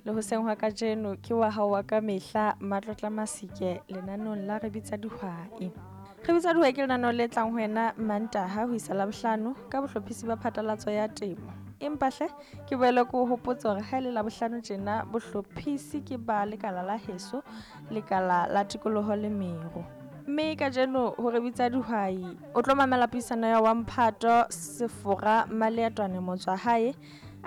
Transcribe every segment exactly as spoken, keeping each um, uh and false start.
Le hoseng hwa kajeno ke wa hao wa ka mehla Matlotla Masike lenaneong la Re Bitsa Dihwai. Re Bitsa Dihwai ke lenaneo le tlang ho wena Mantaha ho isa Labohlano ka bohlophisi ba phatlalatso ya temo. Empa hle ke boele ke o hopotse hore ha e le Labohlano tjena bohlophisi ke ba lekala la heso, lekala la tikoloho le meru. Mme kajeno ho Re Bitsa Dihwai o tlo mamela puisano ya wa Mphato Sefora Maleetwane Motswahae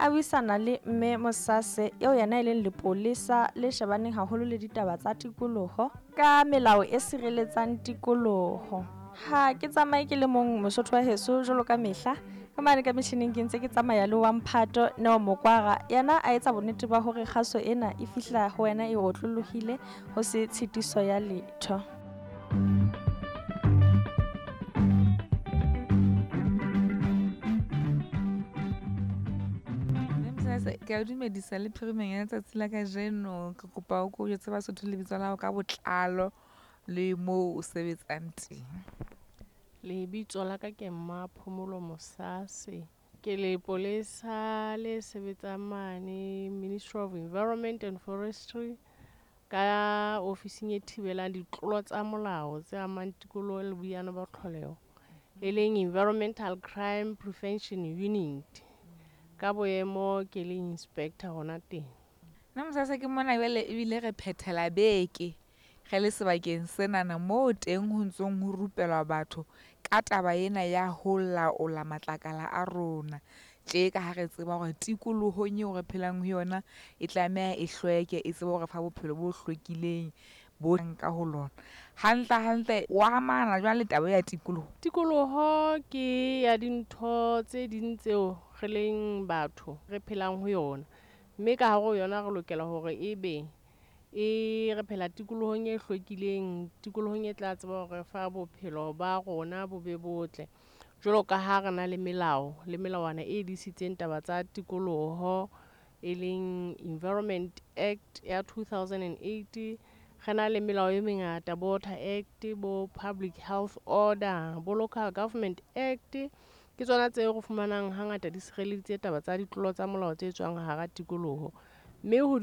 a buisana le mme Mosase eo yena e leng lepolesa le shebaneng haholo le ditaba tsa tikoloho ka melao e sireletsang tikoloho. Ha ke tsamaye ke le mong Mosotho wa heso jwalo ka mehla, ka mane ka metjhining ke ntse ke tsamaya le wa Mphato Neo Mokwara, yena a etsa bonnete ba hore kgaso ena e fihla ho wena e otlolohile ho se tshitiso ya letho. Ke a dumedisa le phirimeng ya letsatsi la kajeno. Ke kopa o ko jwetse Basotho lebitso la hao ka botlalo le moo o sebetsang teng. Lebitso la ka ke Mmaphomolo Mosase. Ke lepolesa le sebetsang mane Ministry of Environment and Forestry ka ofising e thibelang ditlolo tsa molao tse amang tikoloho le boiyane ba tlholeho, e leng Environmental Crime Prevention Unit. Ka boemo ke le inspector hona teng. Nna Mosase ke mona jwale ebile re phethela beke re le sebakeng senana moo teng ho ntsong ho rupelwa batho ka taba ena ya ho laola matlakala a rona. Tje ka ha re tseba hore tikolohong eo re phelang ho yona e tlameha e hlweke, e tsebe hore fa bophelo bo hlwekileng bo ka ho lona. Hantle hantle wa amana jwang le taba ya tikoloho? Tikoloho ke ya dintho tse ding tseo re leng batho re phelang ho yona, mme ka hare ho yona re lokela hore ebe e re phela tikolohong e hlwekileng, tikolohong e tla tseba hore fa bophelo ba rona bo be botle. Jwalo ka ha re na le melao le melawana e disitseng taba tsa tikoloho, e leng Environment Act ya two thousand and eight. Re na le melao e mengata, bo Water Act, bo Public Health Order, bo Local Government Act. Ke tsona tseo re fumanang hangata di sireleditse taba tsa ditlolo tsa molao tse tswang hara tikoloho. Mme ho